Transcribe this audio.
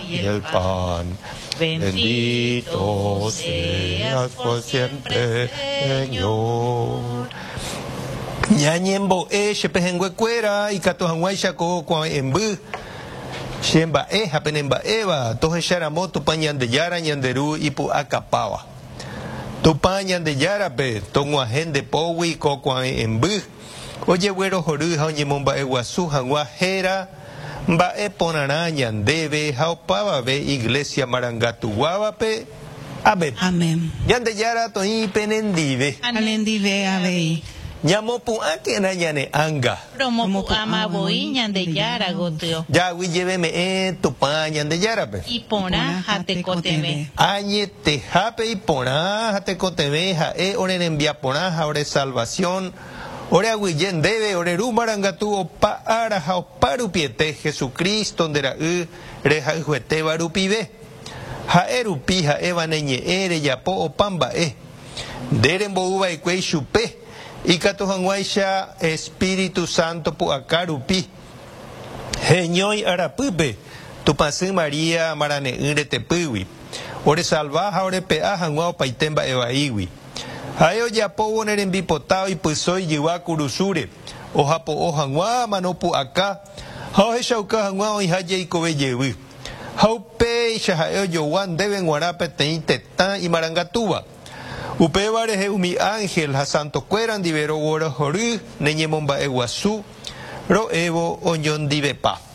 Y el pan. Bendito seas por siempre, Señor. Ñañembo'e che pehẽnguekuéra ikatu hag̃uáicha ko kuave'ẽmby che mba'e ha pene mba'éva tohecharamo Tupã Ñandejára ñande Ru ipu'akapáva. Tupã Ñandejárape tog̃uahẽ nde pógui ko kuave'ẽmby ojeguerohory ha oñemomba'eguasu hag̃ua héra Mba'e porãrã ñandéve ha opavave Iglesia marangatuguávape. Amén. Amén. Ñandejára toĩ penendive. Ha nendive avei. Ñamopu'ãkena ñane ánga. Romopu'ãma voi Ñandejára gotyo. Jaguyjeveme'ẽ Tupã Ñandejárape. Iporã ha tekotevẽ. Añetehápe iporã ha tekotevẽ ha'e ore rembiaporã ha ore salvación. Ore aguyje ndéve, ore Ru marangatu opa ára ha opa rupiete, Jesucristo nde Ra'y rehayhuetéva rupive. Ha'e rupi ha'éva ne ñe'ẽ rejapo opa mba'e. Nde rembou va'ekue ichupe, ikatu hag̃uáicha Espíritu Santo pu'aka rupi, heñói arapýpe Tupãsy María marane'ỹ retepýgui, oresalva ha orepe'a hag̃ua opaite mba'e vaígui. Ha'e ojapóvo ne rembipota oipyso ijyva kurusúre, ohapo'o hag̃ua mano pu'aka ha ohechauka hag̃ua oĩha jeikove jevy. Ha upéicha ha'e ojogua ndéve g̃uarã peteĩ tetã imarangatúva. Upéva rehe umi ánhel ha santokuéra ndive roguerohory ne ñemomba'eguasu ro'évo oñondivepa.